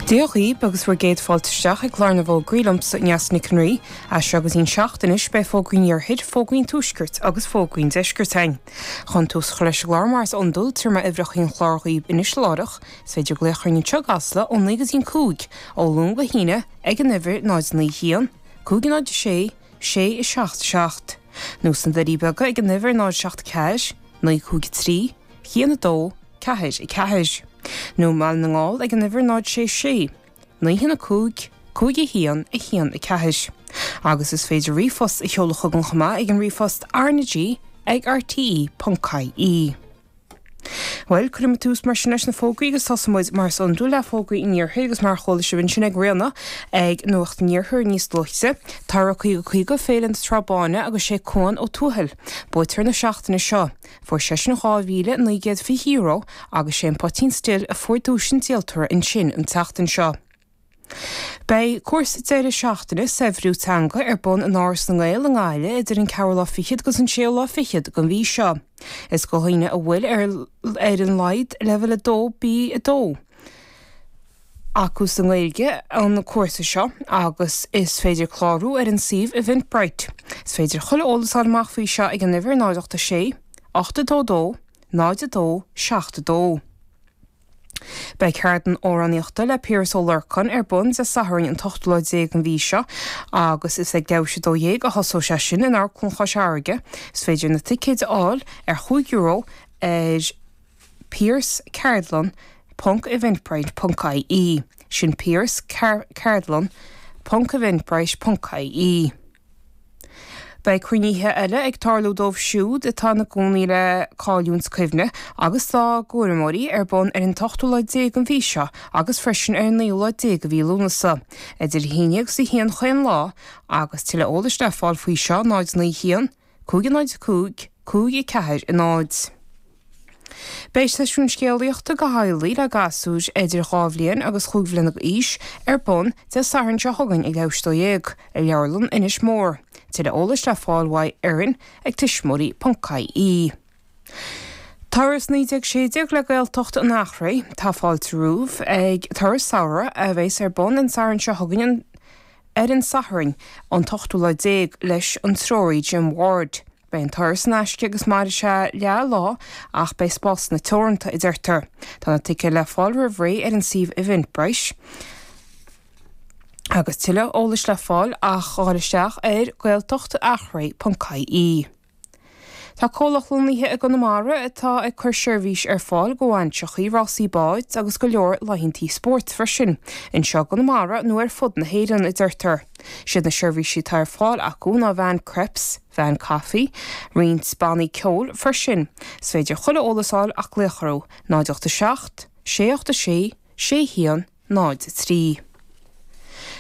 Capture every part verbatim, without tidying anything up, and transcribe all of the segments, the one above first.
Dia dhaoibh agus bhur gcéad fáilte isteach ag clár na bhfógraí liomsa Neasa Nic an Rí, as seo go dtí an seacht anois beidh fógraí an iarthair, fógraí an tuaiscirt agus fógraí an deiscirt againn. Chun tús a chur leis an gclár mar is iondúil tabharfaidh mé uimhreacha an chláir dhaoibh anois láithreach, is féidir glaoch orainn anseo i gCasla ó naoi go dtí an cúig, ó Luan go hAoine ag an uimhir náid naoi haon, cúig náid sé, sé a seacht seacht. Nó sna Doirí Beaga ag an uimhir náid seacht ceathair, naoi cúig trí, haon a dó, ceathair a ceathair. Nó i mBaile na nGall ag an uimhir náid sé sé, naoi haon a cúig, cúig a haon, a haon a ceathair. Agus is féidir ríomhphost a sheoladh chugainn chomh maith ag an ríomhphost RnaG ag RTE ponc IE. Bhuel, cuirfidh muid tús mar sin leis na fógraí agus tosóidh muid mar is iondúil le fógraí an iarthair agus mar a chuala sibh ansin ag Ríona ag Nuacht an Iarthair níos luaithe. Tá caoga caoga Féile na Trá Báine agus sé Cuan Ó Tuathail, buaiteoir na seachtaine seo. Fuair seisean dhá mhíle naoi gcéad fiche euro agus sé an Poitín Stil a fuair duais an díoltóra ansin an tseachtain seo. Beidh cúrsa deireadh seachtaine saibhriú teanga ar bun in Áras na nGael i nGaillimh idir an ceathrú lá fichead agus an séú lá fichead den mhí seo. Is do dhaoine a bhfuil ar ar an laghad leibhéal a dó B a dó. Acu sa nGaeilge an cúrsa seo agus is féidir clárú ar an suíomh Eventbrite. Is féidir chuile eolas a fháil amach faoi seo ag an uimhir náid ocht a sé, ocht a dó dó, náid a dó, seacht a dó. Beidh ceardlann amhránaíochta le Piaras Ó Lorcáin ar bun Dé Sathairn an t-ochtú lá déag den mhí seo agus is ag leathuair tar éis a dó dhéag a thosóidh sé sin in Amharclann Chois Fharraige. Is féidir na ticéid a fháil ar chúig euro ar piarasceardlann ponc eventbrite ponc IE. Sin Piaras ceardlann ponc eventbrite ponc IE. Beidh cruinnithe eile ag tarlú dóibh siúd atá ina gcónaí le cailliúint cuimhne agus dá gcúramóirí ar bun ar an t-ochtú lá déag den mhí seo agus freisin ar an naoú lá déag de mhí Lúnasa. Idir a haon déag agus a haon chaon lá agus tuilleadh eolais le fáil faoi seo náid naoi haon, cúig náid cúig, cúig a ceathair a náid. Beidh seisiún scéalaíochta do theaghlaigh le gasúir idir dhá bhliain agus chúig bhliana d'aois ar bun Dé Sathairn seo chugainn ag leathuair tar éis a dó dhéag i Leabharlann Inis Mór. Tuilleadh eolais le fáil uaidh Erin ag tuismitheoirí ponc IE. Turas naoi déag sé déag le Gaeltacht an Eachréidh tá fáilte romhaibh ag turas samhraidh a bheas ar bun an Satharn seo chugainn an ar an Satharn an t-ochtú lá déag leis an treoraí Jim Ward. Beidh an turas in aisce agus mairfidh sé leath lá ach beidh spásanna teoranta a deirtear. Tá na ticéid le fáil roimh ré ar an suíomh Eventbrite. Agus tuilleadh eolais le fáil ach dul isteach ar gaeltachtachréidh.ie. Tá comhlacht lonnaithe i gConamara atá ag cur seirbhís ar fáil do bhainseachaí rásaí báid agus go leor laethanta spóirt freisin, anseo i gConamara nó ar fud na hÉireann a deirtear. Siad na seirbhísí atá ar fáil acu ná veain crêpes, veain caife, roinnt bannaí ceoil freisin. Is féidir chuile eolas a fháil ach glaoch orthu, náid ocht a seacht, sé ocht a sé, sé haon, náid a trí.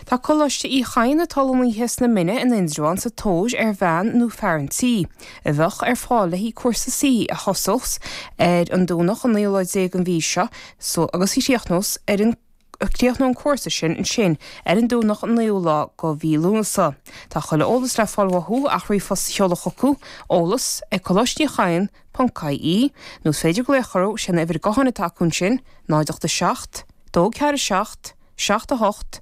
Tá Coláiste Uí Chadhain atá lonnaithe sna Mine in Indreabhán sa tóir ar bhean nó fear an tí, a bheadh ar fáil le haghaidh cúrsa suí a thosós ar an Domhnach an naoú lá déag den mhí seo so agus a chríochnós ar an críochnóidh an cúrsa sin ansin ar an Domhnach an naoú lá de mhí Lúnasa. Tá chuile eolas le fáil uathu ach ríomhphost a sheoladh chucu eolas ag Coláiste Uí Chadhain ponc IE nó is féidir glaoch orthu sin uimhir gutháin atá acu ansin náid ocht a seacht, dó ceathair a seacht, seacht a hocht,